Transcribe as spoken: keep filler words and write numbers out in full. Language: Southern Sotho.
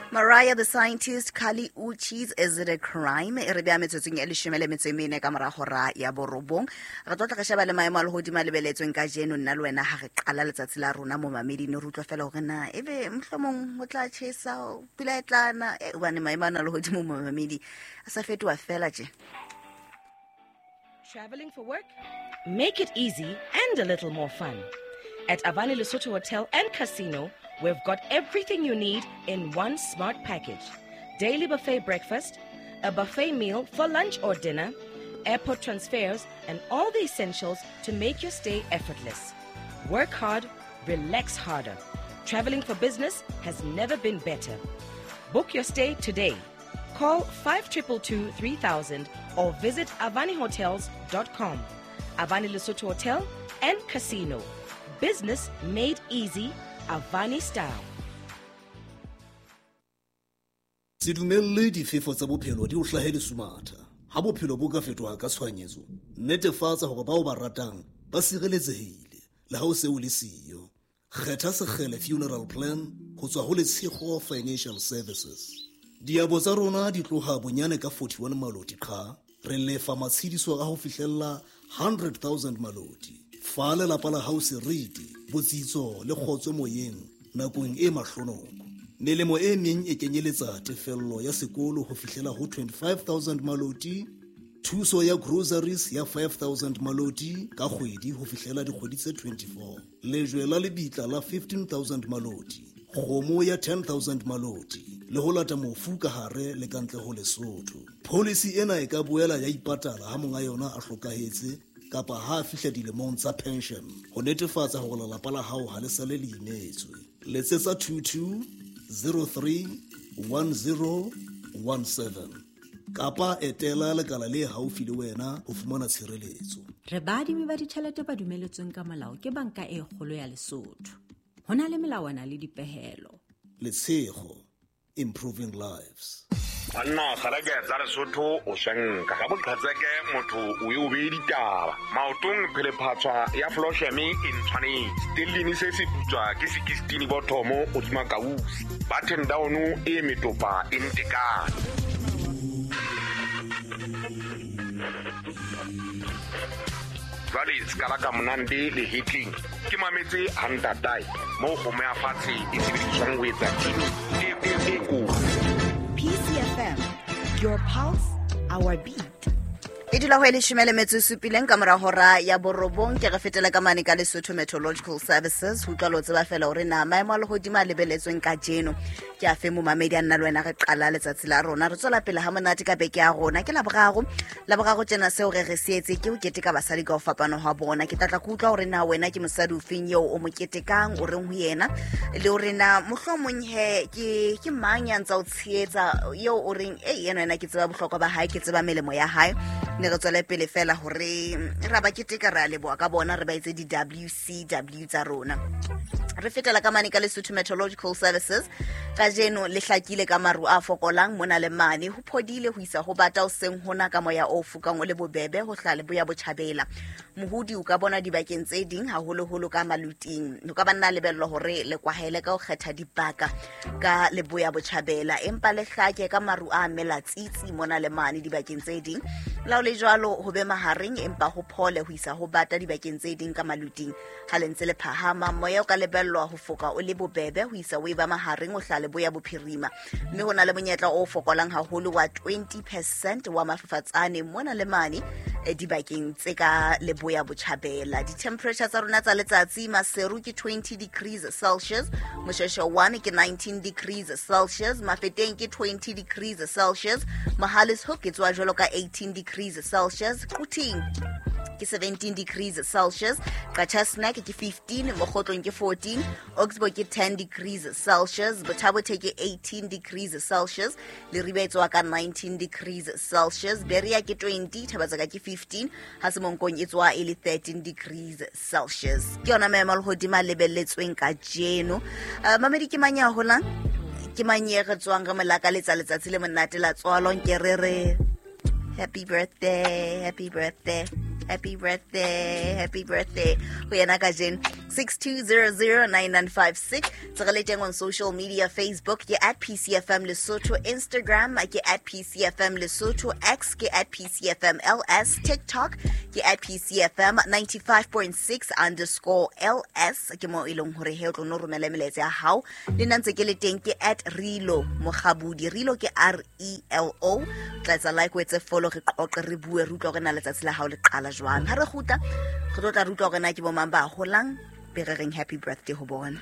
Mariah the Scientist, Kali Uchis, Is It a Crime? E re bea metsotsong e leshome le metso e mene ka mora hora ya borobong. Re tlo tla re sheba le maemo a lehodimo a lebeletsweng kajeno nna le wena ha re qala letsatsi la rona mo mameding re utlwa fela hore na ebe mohlomong ho tla tjhesa, pula e tla na, eh, hobane maemo ana a lehodimo mo mamedi a sa fetoha fela tje. Traveling for work? Make it easy and a little more fun. At Avani Lesotho Hotel and Casino, we've got everything you need in one smart package. Daily buffet breakfast, a buffet meal for lunch or dinner, airport transfers, and all the essentials to make your stay effortless. Work hard, relax harder. Traveling for business has never been better. Book your stay today. Call five two two three thousand or visit avani hotels dot com. Avani Lesotho Hotel and Casino. Business made easy, Avani style. Se dumelle difefo tsa bophelo di o hlahe lesumatha. Ha bophelo bo ka fetoha ka tshohanyetso, netefatsa hore bao ba ratang ba sireletsehile le ha o se o le siyo. Kgetha Sekgele Funeral Plan ho tswa ho Letshego Financial Services. Diabo tsa rona di tloha bonyane ka forty-one maloti qha, re lefa matshediso a ho fihlella hundred thousand maloti. Fa lelapa la hao seriti, botsitso le kgotso moyeng nakong e mahlonoko. Melemo e meng e kenyeletsa tefello ya sekolo ho fihlela ho twenty-five thousand maloti, thuso ya groceries ya five thousand maloti ka kgwedi ho fihlela dikgwedi tse twenty-four, lejwe la lebitla la fifteen thousand maloti, kgomo ya ten thousand maloti, le ho lata mofu ka hare le ka ntle ho Lesotho. Policy ena e ka boela ya ipatala ha monga yona a hlokahetse kapa ha a fihla dilemong tsa pension ho netefatsa hore lelapa la hao ha le sale le imetswe. Letsetsa two two zero three one zero one seven kapa etela lekala le haufi le wena ho fumana tshireletso. Re baadimi ba ditjhelete ba dumeletsweng ka molao ke Banka e Kgolo ya Lesotho. Ho na le melawana le dipehelo. Letshego, improving lives. Banna kgaleke tsa Lesotho o shanka ga boqhetseke motho o e o beye ditaba. Maotong phelephatswa ya Flosheme e ntshwanetse. Tellini se se putswa ke sixteen bothomo hodima kausi. Button down e metopa e ntekane. Jwale ska la ka monande le hitling. Ke mametse hantatae mo kgomo ya fatshe e sebediswang ho etsa tini e e e kotsi. P C F M, your pulse, our beat. E dula ho e leshome le metso e supileng ka mora hora ya borobong. Ke re fetela ka mane ka Lesotho Meteorological Services ho utlwa lo tseba fela hore na maemo a lehodimo a lebeletsweng kajeno ke a fe momamedi a nna le wena re qala letsatsi la rona. Re tswela pele ha monate ka beke ya rona. Ke Laboraro. Laboraro tjena seo re re se etse ke ho keteka basadi ka ho fapana ha bona. Ke tla tla ke utlwa hore na wena ke mosadi ofeng eo o mo ketekang, o reng ho yena, le hore na mohlomong he ke ke mang ya ntsa o tshehetsa eo o reng e yena wena ke tseba bohlokwa ba hae, ke tseba melemo ya hae. Ne re tswele pele fela hore ra ba keteka, re a leboha ka bona, re ba etse di W C W tsa rona. Re fetela ka mane ka Lesotho Meteorological Services. Kajeno le hlakile ka maru a fokolang mona le mane, ho phodile ho isa ho bata o seng hona ka moya o fokang o le bobebe ho hla leboya botjhabela. Mohodi o ka bona dibakeng tse ding haholoholo ka maluting. O ka ba nna lebello hore le kwahele ka ho kgetha dibaka ka leboya botjhabela, empa le hlake ka maru a mela tsitsi mona le mane dibakeng tse ding. La ho le jwalo ho be mahareng, empa ho phole ho isa ho bata dibakeng tse ding ka maluting. Ha le ntse le phahama, moya o ka lebellwa ho foka o le bobebe ho isa o e ba mahareng o hla leboya bophirima, mme ho na le monyetla o fokolang haholo wa twenty percent wa mafafatsane mona le mane dibakeng tse ka leboya botjhabela. Di-temperature tsa rona tsa letsatsi, Maseru ke twenty degrees Celsius, Moshweshwe one ke nineteen degrees Celsius, Mafeteng ke twenty degrees Celsius, Mohale's Hoek e tswa jwalo ka eighteen degrees Celsius, Quthing ke seventeen degrees Celsius, Qacha's Nek ke fifteen, Mokhotlong ke fourteen, Oxbow ke ten degrees Celsius, Botha-Bothe ke eighteen degrees Celsius, Leribe e tswa ka nineteen degrees Celsius, Berea ke twenty, Thabatsaka ke fifteen, ha Semonkong e tswa e le thirteen degrees Celsius. Ke yona maemo a lehodimo a lebelletsweng kajeno. Uh, mamedi ke mang ya holang? Ke mang e re tswang re mo lakaletsa letsatsi le monate la tswalo? Nke re re happy birthday, happy birthday, happy birthday, happy birthday ho yena kajeno. Six two zero zero nine nine five six. Tse re le teng on social media, Facebook ke at P C F M Lesotho, Instagram ke at P C F M Lesotho, X ke at P C F M L S, TikTok ke at P C F M ninety-five point six underscore L S. Ke mo e leng hore he o tlo no romela melaetsa ya hao. Le nna ntse ke le teng ke at Relo Mokgabudi. Relo ke R E L O. Tla etsa like, o etse follow, re qoqe, re bue, re utlwe hore na letsatsi la hao le qala jwang. Ha re kgutla, re tlo tla re utlwa hore na ke bo mang ba holang, be re reng happy birthday ho bona.